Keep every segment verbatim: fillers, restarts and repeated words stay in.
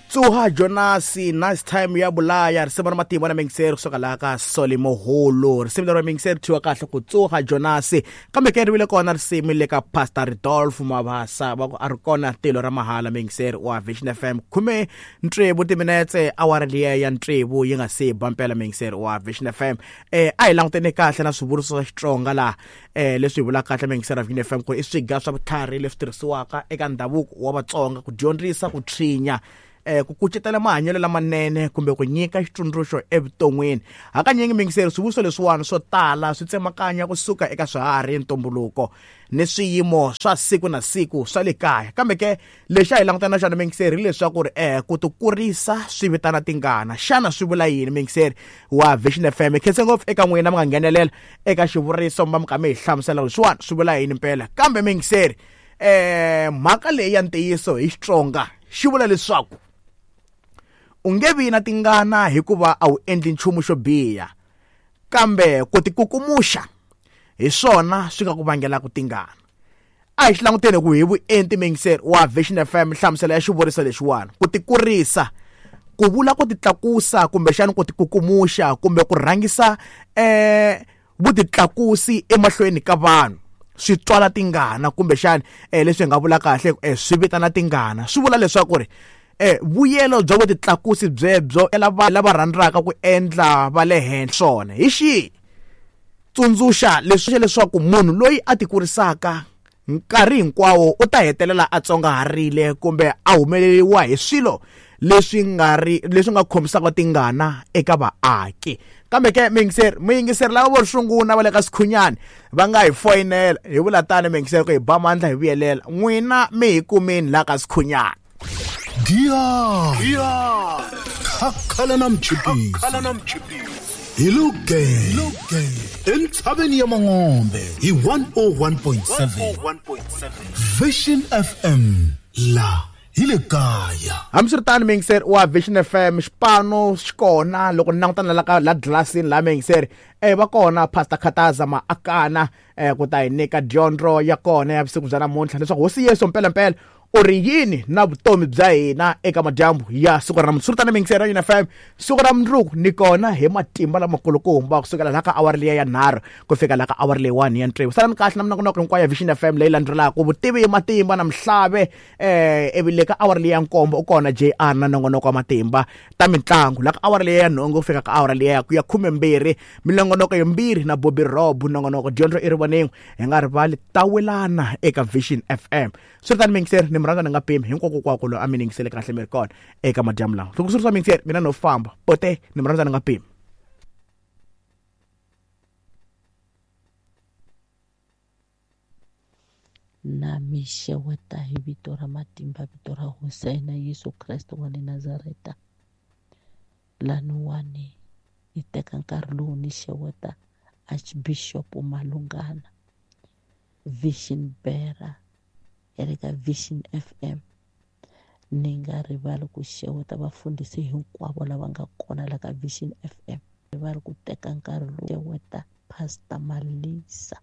Tsuha Jonasi nice time ya bulaya risimu ra matimba na mingiseri kusuka laha ka Solly Moholo risimu leri mingiseri thyiwa kahle ku Tsuha Jonasi kambe ke ri vile kona risimu le ka Pastor Rodolphe Mabasa va ku a ri kona tilo ra mahala mingiseri wa Vision F M khume ntsevu timinetse awara liya ya ntsevu yi nga se ba mpela mingiseri wa Vision F M eh a hi langutene kahle na swivuriso swa Xitsonga laha eh leswi hi vulaka kahle mingiseri wa Vision F M ku i swiga swa vutlhari leswi tirhisiwaka eka ndhavuko wa Vatsonga ku dyondzisa ku tshinya eh ku kucetela mahanyelo lamanene kumbe ku nyika xitsundzuxo evuton'wini hakanyingi mingiseri swivuriso leswiwani swo tala swi tsemakanya kusuka eka swiharhi ntumbuluko ni swiyimo swa siku na siku swa le kaya kambe ke lexi a hi langutana na xona mingiseri hileswaku ri eh ku tikurisa swi vitana tingana xana swi vula yini mingiseri wa Vision F M khense ngopfu eka n'wina mi nga nghenelela eka xivuriso mi va mi kha mi hi hlamusela leswiwani swi vula yini mpela kambe mingiseri eh mhaka leyi ya ntiyiso hi Xitsonga xi vula leswaku u nge vi na tingana hikuva a wu endli nchumu xo biha kambe ku tikukumuxa hi swona swi nga ku vangelaka tingana a hi xi languteni ku hi vuenti mingiseri wa Vision F M nhlamuselo ya xivuriso lexiwani ku tikurisa ku vula ku titlakusa kumbexana ku tikukumuxa kumbe ku rhangisa eh vutitlakusi emahlweni ka vanhu swi twala tingana kumbexana eh leswi hi nga vula kahle eh swi vitana tingana swi vula leswaku ri eh vuyelo bya vutitlakusi byebyo lava lava rhandzaka ku endla va le henhla swona hi xihi tsundzuxa leswi leswaku munhu loyi a tikurisaka nkarhi hinkwawo u ta hetelela a tsongaharile kumbe a humeleriwa hi swilo leswi nga ri leswi nga khomisaka tingana eka vaaki kambe ke mingiseri muyingiseri lava vo sungula va le ka Sikhunyani va nga hi foyinela hi vula tani mingiseri ku hi ba mandla hi vuyelela n'wina mi hi kumini la ka Sikhunyani Dia Dia Khakhala na mchipisi Khakhala na mchipisi Hi luge entshaveni ya Mangombe hi one oh one point seven Vision F M la hi le kaya hambiswiritano mingiseri wa Vision F M xipano xi kona loko ni langutana la ka la glasini la mingiseri eh va kona Pastor Khataza Maakana eh ku ta hi nyika dyondzo ya kona ya vusiku bya namuntlha leswaku hosi Yesu mpela mpela u ri yini na vutomi bya hina eka madyambu ya siku ra namuntlha swiritano mingiseri ya Vision F M siku ra mundzuku ni kona hi matimba lamakulukumba kusukela laha ka awara liya ya nharhu ku fika laha ka awara leyiwani ya ntsevu salani kahle na minongonoko hinkwayo ya Vision F M leyi landzelaka vutivi hi matimba na mhlave eh ivi le ka awara liya ya nkombo u kona J R na nongonoko wa matimba ta mitlangu laha ka awara liya ya nhungu ku fika ka awara liya ya khumembirhi minongonoko yimbirhi na Bobby Rob nongonoko dyondzo i rivoningo hi nga rivali tawelana eka Vision F M swiritano mingiseri ni murhandza ni nga pimi hinkwako kwako loyi a mi ningisele kahle mi ri kona eka madyambu lawa loko swi ri swa mingiseri mina no famba pote ni murhandza ni nga pimi na mi xeweta hi vito ra matimba vito ra hosi ya hina Yesu Kreste wa le Nazareta laniwani ni teka nkarhi lowu ni xeweta Archbishop Malungana Vision Bearer ya le ka Vision F M ni nga rivali ku xeweta vafundhisi hinkwavo lava nga kona la ka Vision F M rivali ku teka nkarhi lowu xeweta Pastor Malisa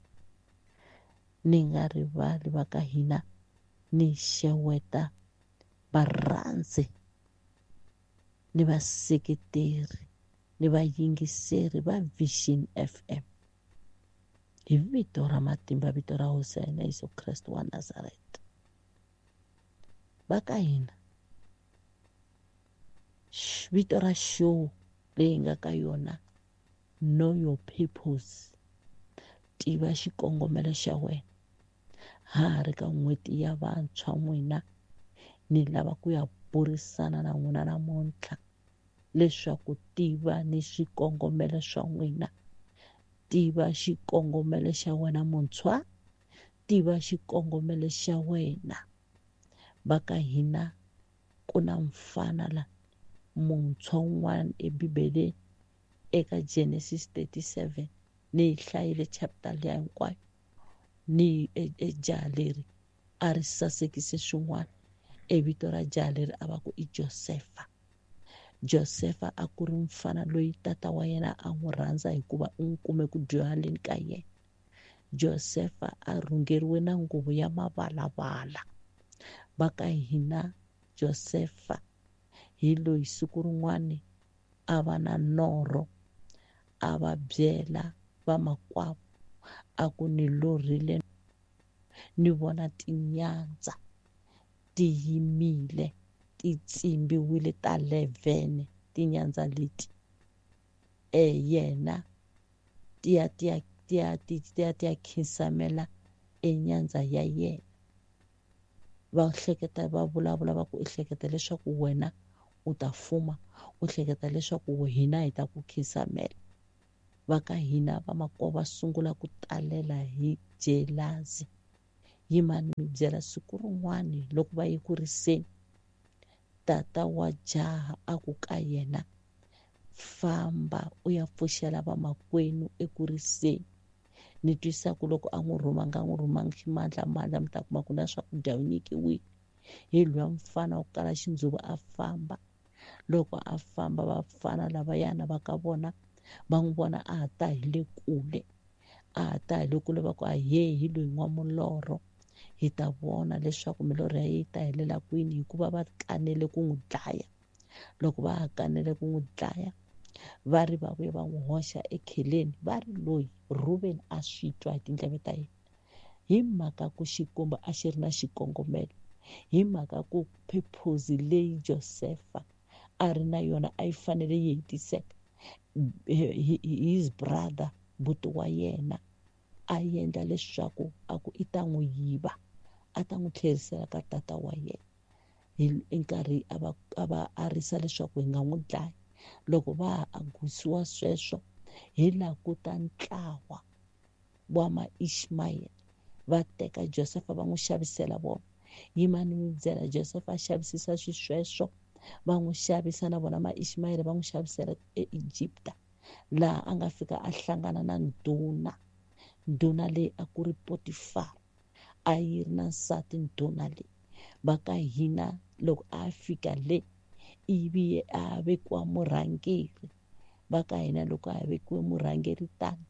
ni nga rivali va ka hina ni xeweta varhandzi ni vaseketeri ni vayingiseri va Vision F M hi vito ra matimba vito ra hosi ya hina Yesu Kreste wa Nazareta va ka hina vito ra show leyi nga ka yona Know Your Purpose tiva xikongomelo xa wena ha ha ri ka n'hweti ya vantshwa n'wina ni lava ku ya burisana na n'wina namuntlha leswaku tiva ni xikongomelo swa n'wina tiva xikongomelo xa wena muntshwa tiva xikongomelo xa wena va ka hina ku na mfana la muntshwa un'wana eBibeleni eka Genesis thirty-seven ni yi hlayile chapter liya hinkwayo ni e jaha leri a ri sasekise swin'wana e vito ra jaha leri a va ku i Josefa Josefa a ku ri mfana loyi tata wa yena a n'wi rhandza hikuva u n'wi kume ku dyuhaleni ka yena Josefa a rhungeriwe na nguvu ya mavalavala va ka hina Josefa Hi loyi siku rin'wani a va na norho, a va byela vamakwavo a ku ni lorhile ni vona tinyandza ti yimile ti tsimbiwile ta eleven tinyandza leti. E yena ti ya ti ya ti ya ti ya ti ya khinsamela enyandza ya yena. Va hleketa va vulavula va ku ehleketa leswaku wena u ta fuma, u hleketa leswaku hina hi ta ku khinsamela. Va ka hina vamakwavo va sungula ku talela hi jealousy. Yimani mi byela siku rin'wani loko va ye ku riseni, tata wa jaha a ku ka yena, famba u ya pfuxela vamakwenu eku riseni. Ni twisa ku loko a n'wi rhuma nga n'wi rhumangi ximandlamandla, mi ta kuma ku na swakudya u nyikiwile. Hi luya mfana wa ku kala xindzuvo a famba. Loko a famba vafana lavayana va ka vona va n'wi vona a ha ta hi le kule, a ha ta hi le kule va ku ahee, hi loyi n'wamulorho, hi ta vona leswaku milorho ya yena yi ta helela kwini, hikuva va kanele ku n'wi dlaya. Loko va ha kanele ku n'wi dlaya, va ri va vuye va n'wi hoxa ekheleni. Va ri loyi Reuben a swi twa hi tindleve ta yena, hi mhaka ku Xikwembu a xi ri na xikongomelo, hi mhaka ku purpose leyi Josefa a ri na yona a yi fanele yi hetiseka. His brother, buti wa yena, a endla leswaku a ku i ta n'wi yiva, a ta n'wi tlherisela ka tata wa yena. Hi nkarhi a va a va arisa leswaku hi nga n'wi dlaya. Loko va ha angusiwa sweswo, hi laha ku ta ntlawa wa ma-Ishmael va teka Josefa va n'wi xavisela vona. Yimani mi byela, Josefa a xavisisa xisweswo, va n'wi xavisa na vona ma-Ishmael va n'wi xavisela eEgipta, laha a nga fika a hlangana na ndhuna. Ndhuna leyi a ku ri Potifar, a yi ri na nsati ndhuna leyi. Va ka hina loko a fika le, ivi a vekiwa murhangeri. Va ka hina loko a vekiwe murhangeri tani,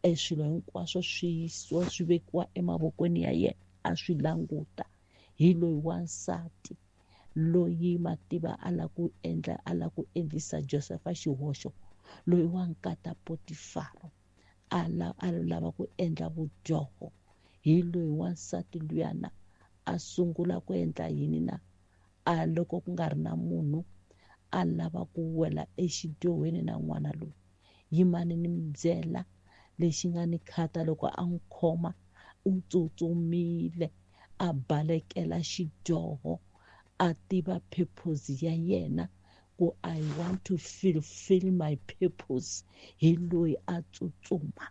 e swilo hinkwaswo swi yisiwa swi vekiwa emavokweni ya yena, a swi languta. Hi loyi wansati loyi mativa a la ku endla a la ku endlisa Josefa xihoxo, loyi wa nkata Potifaro a la a lava ku endla vudyoho. Hi loyi wansati luyana a sungula ku endla yini na a loko ku nga ri na munhu a lava ku wela exidyohweni na n'wana loyi. Yimani ni mi byela lexi nga ni khata, loko a n'wi khoma u tsutsumile a balekela xidyoho, a tiva purpose ya yena ku I want to fulfill my purpose. Hi loyi a tsutsuma.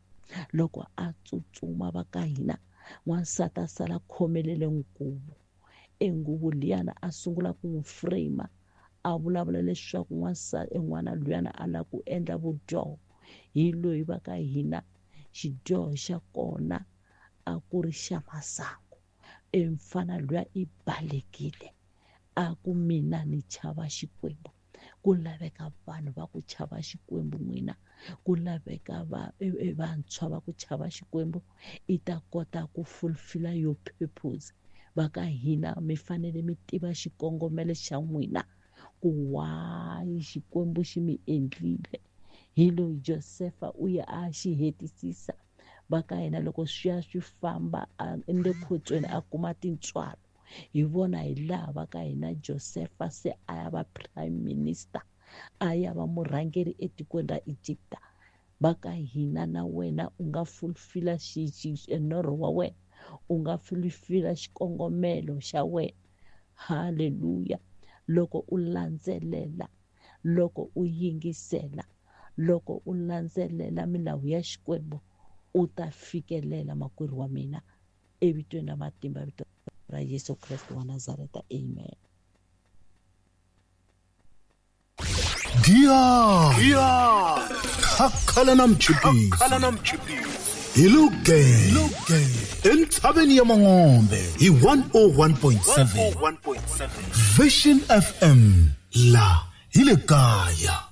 Loko a tsutsuma va ka hina, n'wansati a sala khomelele nguvu. E nguvu liyana a sungula ku n'wi frame, a vulavula leswaku n'wansati n'wana luyana a lava ku endla vudyoho. Hi loyi va ka hina xidyoho xa kona a ku ri xa masangu. E mfana luya i balekile, a ku mina ni chava Xikwembu. Ku laveka vanhu va ku chava Xikwembu n'wina, ku laveka va vantshwa va ku chava Xikwembu, i ta kota ku fulfill your purpose. Va ka hina mi fanele mi tiva xikongomelo xa n'wina, ku why Xikwembu xi mi endlile. Hi loyi Josefa u ya a xi hetisisa. Va ka hina loko swi ya swi famba le khotsweni a kuma tintswalo. Hi vona hi laha va ka hina Josefa se a ya va prime minister, a ya va murhangeri etikweni ra Egipta. Va ka hina na wena u nga fulfilla norho wa wena, u nga fulfilla xikongomelo xa wena. Haleluya. Loko u landzelela, loko u yingisela, loko u landzelela milawu ya Xikwembu, u ta fikelela makwerhu wa mina. Evitweni ra matimba vito ra Yesu Kreste wa Nazareta, amen. Dia Khakhala na mchipisi hi Lugeng entshaveni ya Mangombe hi one oh one point seven Vision F M la hi le kaya.